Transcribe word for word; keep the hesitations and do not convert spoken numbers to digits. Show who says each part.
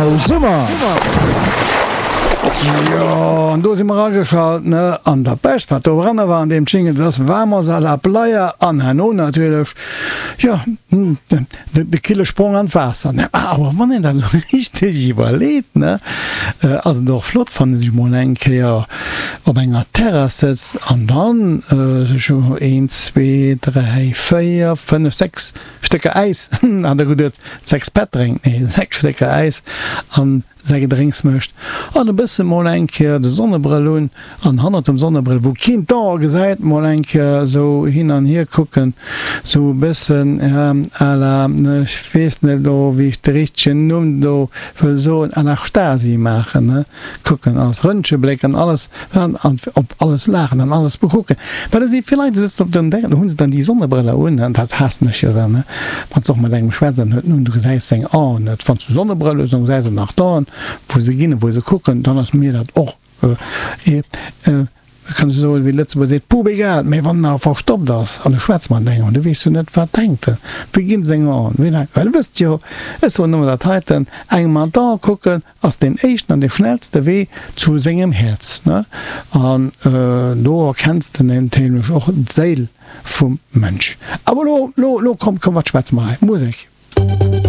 Speaker 1: Summer! Jo, an do si mer ageschalt, ne? An dat Bescht, wat doranner war an deem Jingle, dat ass Vamos a la playa an herno natierlech, jo, de kille Sprong an d'Waasser, ne? Awer wann een dat esou richteg iwwerleet, ne, ass et och flott, wann ee sech mol eng Kéier op enger Terrass sëtzt an dann sech een, zwee, dräi, véier, fënnef, sechs Stécker Äis, hat der geduet, sechs Pätt drénkt, nee, sechs Stécker Äis an säi Gedrénks mécht an e bësse mol eng Kéier de Sonnebrëll un an hannert dem Sonnebrëll, wou keen d'Ae gesäit, mol eng Kéier esou hin an hier kucken, esou e bëssen à la, ech weess net elo, wéi ech de richtegen Numm do wëll soen, à la Stasi maachen, ne, kucken, alles Röntgenbléck an alles an op alles laachen an alles bekucken, well do si vill Leit, déi sëtzen op den Dänger, do hu se dann déi Sonnebrëller un, an dat haassen ech jo dann, ne, wann s de och mat engem schwätz an huet en un, du gesäis seng Aen net, wann s du Sonnebrëll hues, dann gesäis de nach d'Aen, wou se ginn a wou se kucken, dann ass mir dat och, kann ech soen, wéi de Lëtzebuerger seet, pup egal, mä wann en awer verstoppt ass an e schwätzt mat engem an du weess jo net, wat denkt en, wéi ginn seng Aen, wéi laang, well e wësst jo, ech soen ëmmer dat heiten, engem an d'Ae kucken ass deen éischten an dee schnellste Wee zu sengem Häerz, ne, an do erkenns de natierlech och d'Séil vum Mënsch. Awer elo, elo, elo komm, komm, wat schwätze mer hei? Musek!